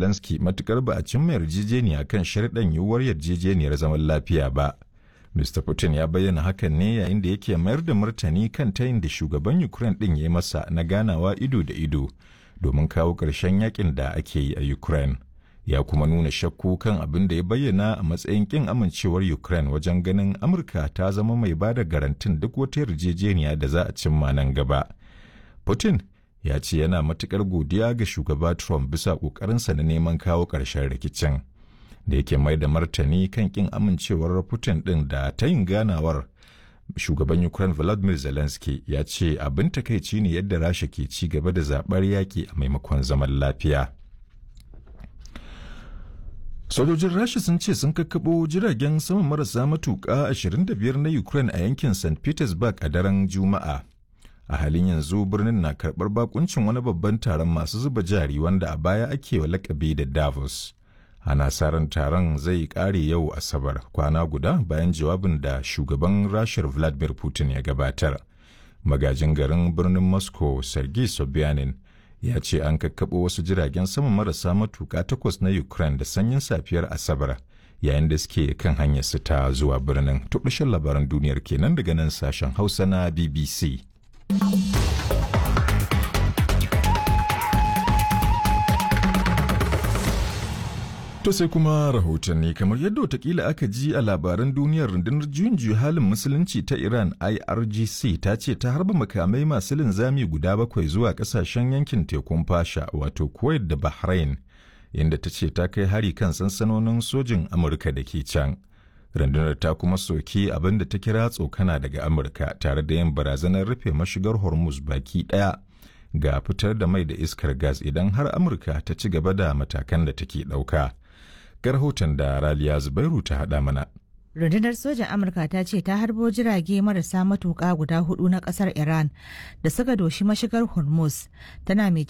Zelensky matukar ba a cimma yarjejeniya kan sharɗan yiwuwar yarjejeniyar zaman lafiya ba. Mr. Putin ya bayyana hakan ne yayin da yake mayar da martani kan tayin da shugaban Ukraine ɗin ya yi masa na ganawa ido da ido domin kawo ƙarshen yakin da ake yi a Ukraine. Ya kuma nuna shakku kan abin da ya bayyana a matsayin ƙin amincewar Ukraine wajen ganin Amurka ta zama mai ba da garantin duk wata yarjejeniya da za a cimma nan gaba. Putin ya ce yana matuƙar godiya ga shugaba Trump bisa ƙoƙarinsa na neman kawo ƙarshen rikicin. Da yake mai da martani kan kin amincewar Putin ɗin da ta yin ganawar shugaban Ukraine Volodymyr Zelensky ya ce abin takaici ne yadda Rasha ke ci gaba da zaɓar yaƙi a maimakon zaman lafiya. Sojojin Rasha sun ce sun kakkaɓo jiragen sama marasa matuƙa 25 na Ukraine a yankin St. Petersburg a daren Juma'a. A halin yanzu birnin na karɓar bakuncin wani babban taron masu zuba jari wanda a baya ake wa lakabi da Davos. Ana sa ran taron zai kare yau Asabar kwana guda bayan jawabin da shugaban Rashar Vladimir Putin ya gabatar. Magajin garin birnin Moscow Sergei Sobyanin ya ce an kakkaɓo wasu jiragen sama marasa matuƙa takwas na Ukraine da sanyin safiyar Asabar yayin da suke kan hanyar su ta zuwa birnin. Tukushin labaran duniyar kenan daga nan sashen Hausa na BBC. To sai kuma rahotanni kamar yadda watakila aka ji a labaran duniyar rundunar juyin juya halin musulunci ta Iran IRGC ta ce ta harba makamai masu linzami guda bakwai zuwa kasashen yankin tekun fasha wato Kuwait da Bahrain inda ta ce ta kai hari kan sansanonin sojin Amurka da ke can. Rundunar ta kuma soki abin da ta kira tsokana daga Amurka tare da yin barazanar rufe mashigar Hormuz baki ɗaya ga fitar da mai da iskar gas idan har Amurka ta ci gaba da matakan da take ɗauka. Ga rahoton da Raliya Zubairu ta haɗa mana. Rundunar sojan Amurka ta ce ta harbo jirage marasa matuƙa guda hudu na ƙasar Iran da suka doshi mashigar Hormuz tana mai